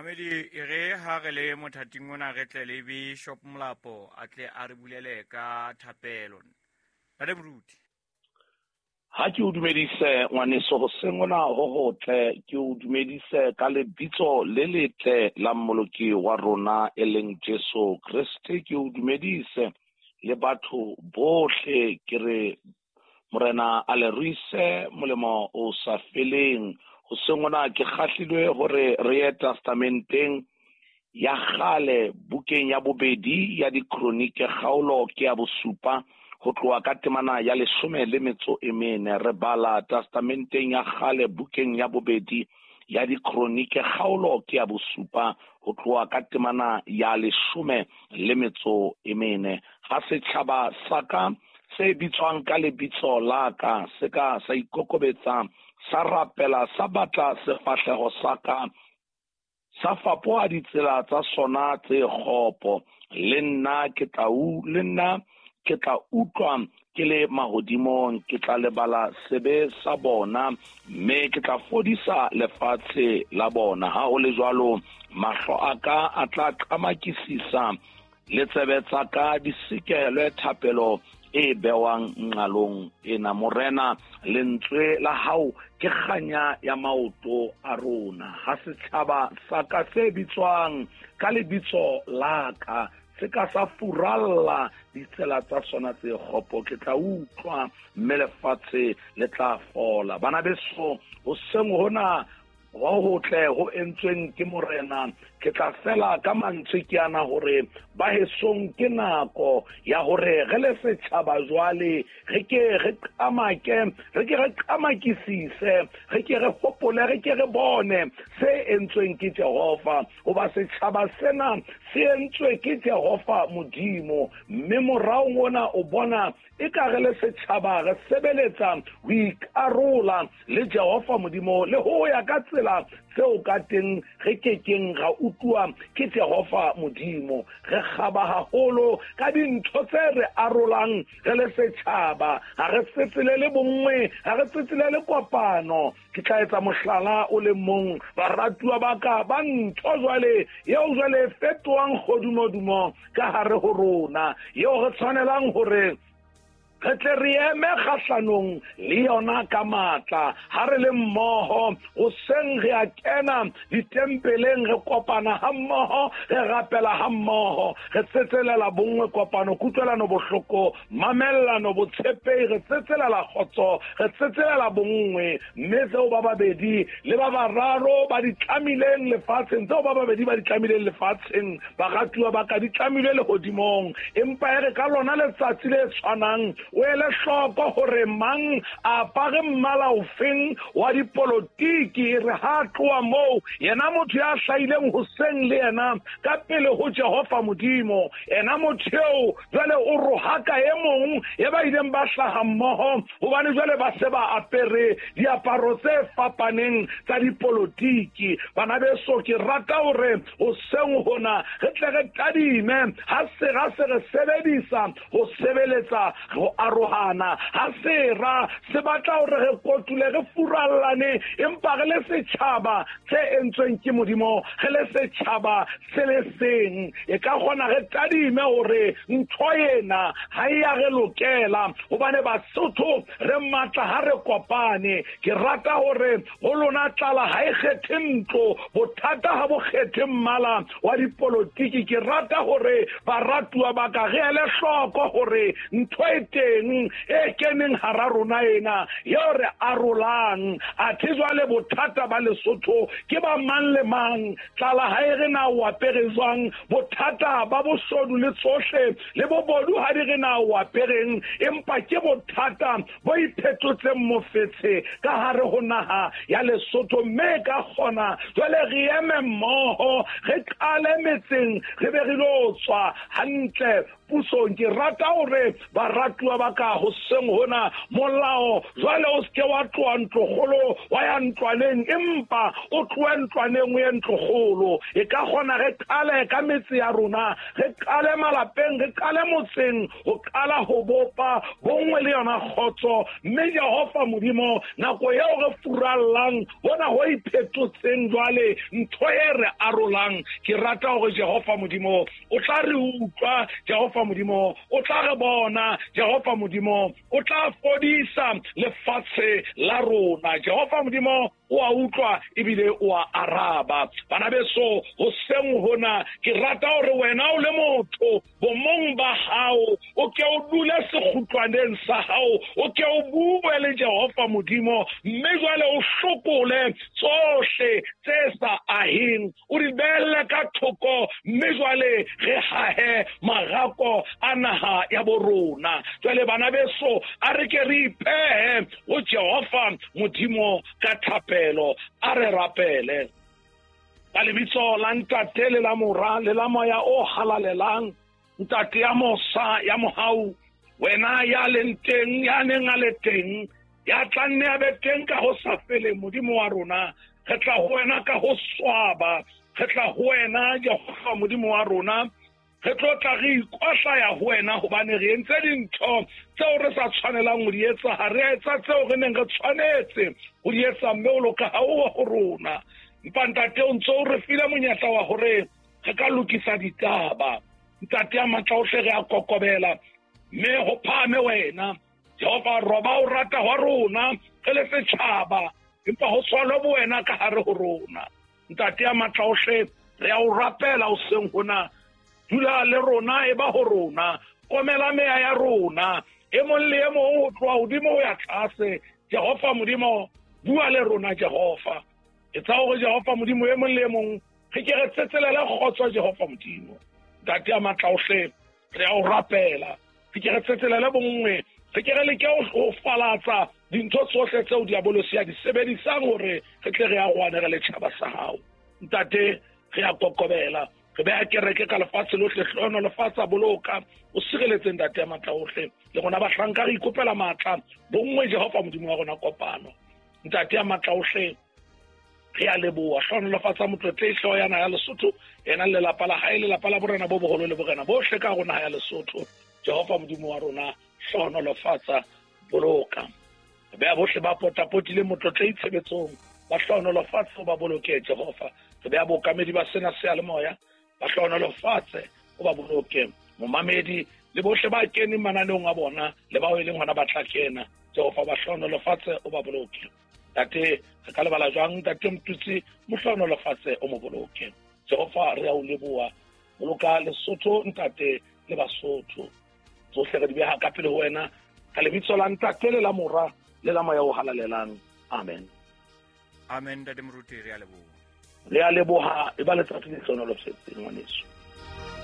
Mamedi, e re ha re le mothating ona re tle le Bishop Molapo a tle a re bulele ka thapelo. Ntate Moruti. Ha ke o dumedise ngwaneso hoseng hona ho hotle, ke o dumedise ka lebitso le letle la Mmoloki wa rona e leng Jesu Kreste. Ke o dumedise le batho bohle, ke re Morena a le ruise molemo o sa feleng. Hoseng hona ke kgahlilwe hore re ye testamenteng ya kgale, bukeng ya bobedi ya Dikronike, kgaolo ke ya bosupa, ho tloha ka temana ya 14. Re bala testamenteng ya kgale, bukeng ya bobedi ya Dikronike, kgaolo ke ya bosupa, ho tloha ka temana ya 14. Ha setjhaba sa ka se bitswang ka lebitso la ka se ka sa ikokobetsa, sa rapela, sa batla sefahleho sa ka, sa fapoha ditsela tsa sona tse kgopo, le nna ke tla u le nna ke tla utlwa ke le mahodimong, ke tla lebala sebe sa bona, mme ke tla fodisa lefatshe la bona. Ha ho le jwalo, mahlo a ka a tla qamakisisa, le tsebe tsa ka di sekelwe thapelo e bewang nqalong ena. Morena, lentswe la hao ke kganya ya maoto a rona. Ha setjhaba sa ka se bitswang ka lebitso la ka se ka sa furalla ditsela tsa sona tse kgopo, ke tla utlwa, mme lefatshe le tla fola. Bana beso, hoseng hona ho hotle ho entsweng ke Morena, ke tla fela ka mantswe ke ana hore ba hesong ke nako ya hore re le setjhaba jwale re ke re qamake, re ke re qamakisise, re ke re hopole, re ke re bone se entsweng ke Jehova, hoba setjhaba sena se entswe ke Jehova Modimo. Mme moraong ona o bona e ka re le setjhaba re sebeletsa ho ikarola le Jehova Modimo le ho ya ka tsela tseo ka teng re kekeng ra utlwa ke Jehova Modimo. Re kgaba haholo ka dintho tse re arolang re le setjhaba. Ha re tsetselele bonngwe, ha re tsetselele kopano. Ke tla etsa mohlala o le mong, baratuwa ba ka, ba ntho jwale eo jwale e fetohang kgodumodumo ka hare ho rona, eo re tshwanelang hore re tle re eme kgahlanong le yona ka matla. Ha re le mmoho hoseng re a kena ditempeleng, re kopana ha mmoho, re rapela ha mmoho, re tsetselela bonngwe, kopano, kutlwelano bohloko, mamellano, botshepehi, re tsetselela kgotso, re tsetselela bonngwe. Mme tseo ba babedi le ba bararo ba di tlamileng lefatsheng, tseo ba babedi ba di tlamileng lefatsheng, baratuwa ba ka, di tlamilwe lehodimong. Empa e re ka lona letsatsi le tshwanang o ele hloko hore mang a apare mmala ofeng wa dipolotiki. E re ha tloha moo, yena motho ya hlahileng hoseng le yena ka pele ho Jehova Modimo, yena motho eo jwale o rohaka e mong e ba ileng ba hlaha mmoho, hobane jwale ba se ba apere diaparo tse fapaneng tsa dipolotiki. Bana beso, ke rata hore hoseng hona re tle re tadime ha sera se re sebedisa ho sebeletsa ho arohana, ha sera se batla hore re kotule, re furallane, empa re le setjhaba se entsweng ke Modimo, re le setjhaba se le seng, e ka kgona re tadime hore ntho ena ha e ya re lokela, hobane Basotho re matla ha re kopane. Ke rata hore ho lona tlala ha e kgethe ntlo, bothata ha bo kgethe mmala wa dipolotiki. Ke rata hore baratuwa ba ka re ele hloko hore ntho e teng e keneng hara rona ena eo re arolang. Athe jwale bothata ba Lesotho ke ba mang le mang, tlala ha e re na o apere jwang, bothata ba boshodu le tsohle le bobodu ha di re na o apereng, empa ke bothata bo iphetotseng mofetshe ka hare ho naha ya Lesotho. Mme ka kgona jwale re eme mmoho, re qale metseng, re be re lo tswa hantle. Pusong. Ke rata hore baratuwa ba ka hoseng hona, molao jwale o seke wa tloha ntlokgolo wa ya ntlwaneng, empa o tlohe ntlwaneng o ye ntlokgolo. E ka kgona re qale ka metse ya rona, re qale malapeng, re qale motseng, ho qala ho bopa bonngwe le yona kgotso. Mme Jehova Modimo, nako eo re furallang hona ho iphetotseng jwale ntho e re arolang, ke rata hore Jehova Modimo o tla re utlwa, Jehova Modimo o tla re bona, Jehova Modimo o tla fodisa lefatshe la rona. Jehova Modimo o a utlwa ebile o a araba. Bana beso, hoseng hona ke rata hore wena o le motho bomong ba hao o ke o dule sekgutlwaneng sa hao, o ke o bue le Jehova Modimo, mme jwale o hlokole tsohle tse sa aheng, o di behelle ka thoko, mme jwale re hahe marako a naha ya bo rona. Jwale bana beso, a re ke re ipehe ho Jehova Modimo ka thapelo. A re rapele ka lebitso la Ntate le la Mora le la Moya o Halalelang. Ntate ya mosa ya mohau, wena ya leng teng, ya neng a le teng, ya tla nne a be teng ka ho sa feleng, Modimo wa rona, re tla ho wena ka ho swaba, re tla ho wena Jehova Modimo wa rona, re tlo tla re ikohlaya ho wena, hobane re entse dintho tseo re sa tshwanelang ho di etsa, ha re a etsa tseo re neng re tshwanetse ho di etsa, mme o loka ha o ho rona. Empa Ntate, o ntso o re file monyetla wa hore re ka lokisa ditaba. Ntate ya matla ohle, re a kokobela, mme ho phahame wena Jehova. Roba o rata hwa rona re le setjhaba, empa ho tshwalwe bo wena ka hare ho rona. Ntate ya matla ohle, re a o rapela hoseng hona, dula le rona, e ba ho rona, komela meya ya rona, e mong le e mong ho tloha hodimo ho ya tlase. Jehova Modimo, bua le rona Jehova. Etsa hore Jehova Modimo e mong le e mong re ke re tsetselele kgotso Jehova Modimo. Ntate ya matla ohle, re a o rapela, re ke re tsetselele bonngwe, re ke re leke ho falatsa dintho tsohle tseo diabolosi a di sebedisang hore re tle re arohane re le tjhaba sa hao. Ntate, re a kokobela, re beha kereke ka lefatshe lohle, hlohonolofatsa, boloka, o sireletse Ntate ya matla ohle. Le rona bahlanka re ikopela matla, bonngwe Jehova Modimo wa rona, kopano. Ntate ya matla ohle, re a leboha, hlohonolofatsa motlotlehi hlooho ya naha ya Lesotho, yena le lelapa la hae, lelapa la borena bo boholo le borena bohle ka hare ho naha ya Lesotho. Jehova Modimo wa rona, hlohonolofatsa, boloka. Re beha bohle ba potapotileng motlotlehi tshebetsong, ba hlohonolofatse, o ba boloke Jehova. Re beha bookamedi ba sena seyalemoya, ba hlohonolofatse, o ba boloke. Momamedi le bohle ba keneng mananeong a bona le bao e leng hona ba tla kena, Jehova ba hlohonolofatse, o ba boloke. Ntate, re ka lebala jwang Ntate Motutsi, mo hlohonolofatse, o mo boloke. Jehova, re a o leboha, boloka Lesotho Ntate le Basotho. Tsohle re di beha ka pele ho wena, ka lebitso la Ntate le la Mora le la Moya o Halalelang. Amen. Amen, Ntate Moruti, re a leboha. Re a leboha, e ba letsatsi le hlohonolofetseng ngwaneso.